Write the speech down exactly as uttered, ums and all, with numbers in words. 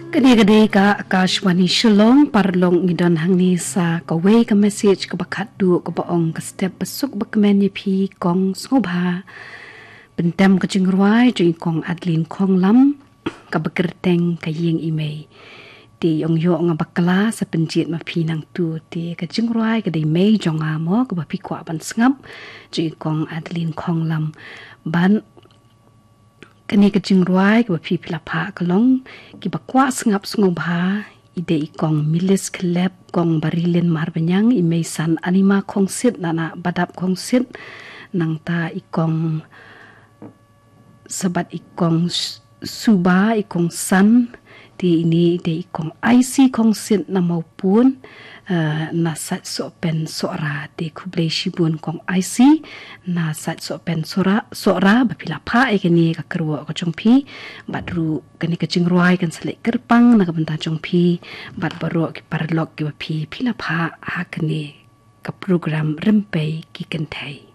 Kane ka dei ka Akashvani Shillong. Paralok, ngi don hangne sa kawei ka message kaba khatduh kaba ong ka step ba suk ba kmen ïa phi kong sngewbha pyntem ka jingrwai jong i kong Adeline Khonglam kaba kyrteng Ka Ïing i Mei. Te i ong ïoh nga bakla sa pynjied ma phi nangtu. Te ka jingrwai ka dei Mei jong nga mo kaba phi kwah ban sngap jong i kong Adeline Khonglam. Ban kane ka jingrwai kaba phi phi la phah ka long kiba kwah sngap sngewbha i dei i kong Milis Khlep, kong Barilin Marbaniang, i Meisan Anima Khongsit, nana Badap Khongsit, nangta i kong Sabat, i kong S-, Suba, i kong San, te ine i dei i kong Aisi Khongsit na Maupun, eh, na Sait Sohpen Sohra. Te khublei shibun kong Aisi na Sait Sohpen Sohra, Sohra ba phi la phah ïa kane ka kyrwoh ka jong phi. Bad ruh kane ka jingrwai kan sa leit kyrpang na ka bynta jong phi bad baroh ki paralok kiba phi phi la phah ha kane ka program Rympei ki Kynthei.